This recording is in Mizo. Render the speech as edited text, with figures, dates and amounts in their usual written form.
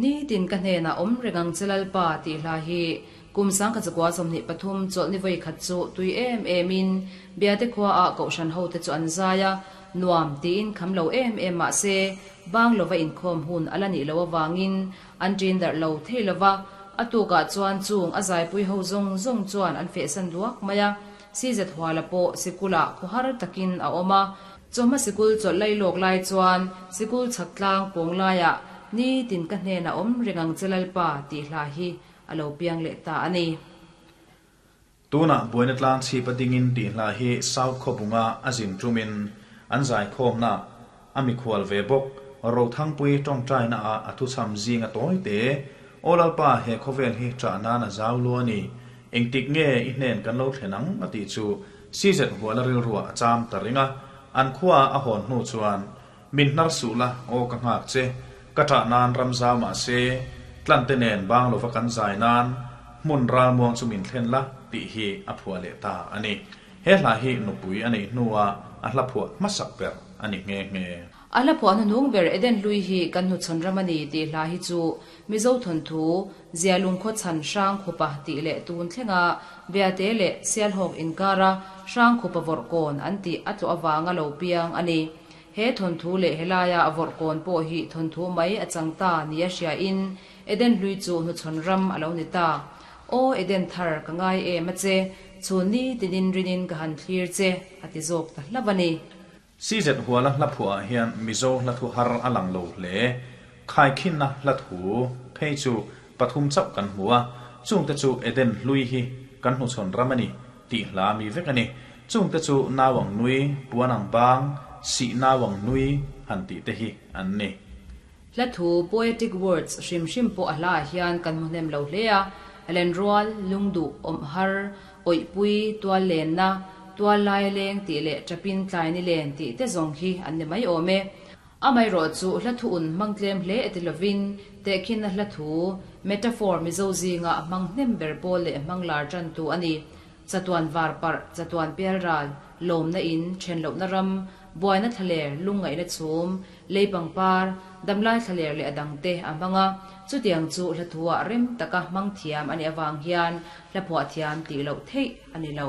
Nitin ka hnenah awm reng ang che Lalpa tih hla hi kum 1923 chawlhni vawi khat chu tui em em in Biate khua ah kohhran ho te chu an zai a, nuam tiin kham lo em em mah se bang lova inkhawm hun a la nih loh avangin an ṭin darh lo thei lova, a tukah chuan chung a zaipui ho zawng zawng chuan an fehsan duak mai a, Sizet Huala pawh sikulah khawhar takin a awm a, Chawhma sikul chawlh lai lawk lai chuan sikul chhak tlang pawng laiah nitin ka hnenah awm reng ang che Lalpa tih hla hi a lo piang leh ta a ni. Tunah buaina tlang chhip a dingin tih hla hi South Khawbunga a zin tumin an zaikhawmna a mikhual ve bawk. Rothangpui tawngtaina ah a thuchham zing a tawi te. Aw Lalpa he khawvel hi ṭah nan a zau lu a ni. Engtik nge i hnen kan lo thlen ang a tih chu CZ Huala rilruah a cham ta reng a, an khua a hawn hnu chuan, Min hnar suh la, aw ka nghak che, ka ṭah nan ram zau mah se, tlante nen bang lova kan zai nan hmun ralmuang chu min thlen la, tih hi a phuah leh ta a ni. He hla hi nupui a neih hnuah a hla phuah hmasak ber a ni nghe nghe. A hla phuah hnuhnung ber Eden hlui hi kan hnuchhawn ram a ni tih hla hi chu Mizo thawnthu Zialung khaw chhan Hrangkhupa tih leh tun thlenga Biate leh Sialhawk inkara Hrangkhupa vawrh kawn an tih a tlawh avanga lo piang a ni. He thawnthu leh helaia a vawrh kawn pawh hi thawnthu mai a chang ta nia hriain Eden hlui chu hnuchhawn ram a lo ni ta. Aw Eden thar ka ngai em a che, chhun ni tinin rinin ka han thlir che, a ti zawk ta hlauh a ni. CZ Huala hla phuah ah hian Mizo hla thu har a lang lo hle. Khaikhinna hla thu phei chu pathum chauh kan hmu a, chungte chu Eden hlui hi kan hnuchhawn ram a ni tih hla mi vek a ni. Chungte chu nau ang nui, puan ang bang, sih nau ang nui han tih te hi an ni. Hla thu, poetic words, hrim hrim pawh a hlaah hian kan hmu hnem lo hle a, Lenrual, lungduh, awmhar, awihpui, tual lenna, tual lai leng tih leh ṭapin tlai ni len tih te zawng hi an ni mai awm e. Amaherawh chu hla thu un hmang tlem hle e ti lovin tehkhinna hla thu, metaphor, Mizo zinga hmang hnem ber pawl leh hmang lar ṭantu a ni. Chatuan var parh, chatuan pialral, lawmna in, ṭhen lohna ram, buaina thlaler, lungngaihna chhum, lei pangpar, damlai thlaler leh a dangte a hmang a, chutiang chu hla thuah rem taka hmang thiam a nih avang hian hla phuah thiam tih loh theih a ni lo.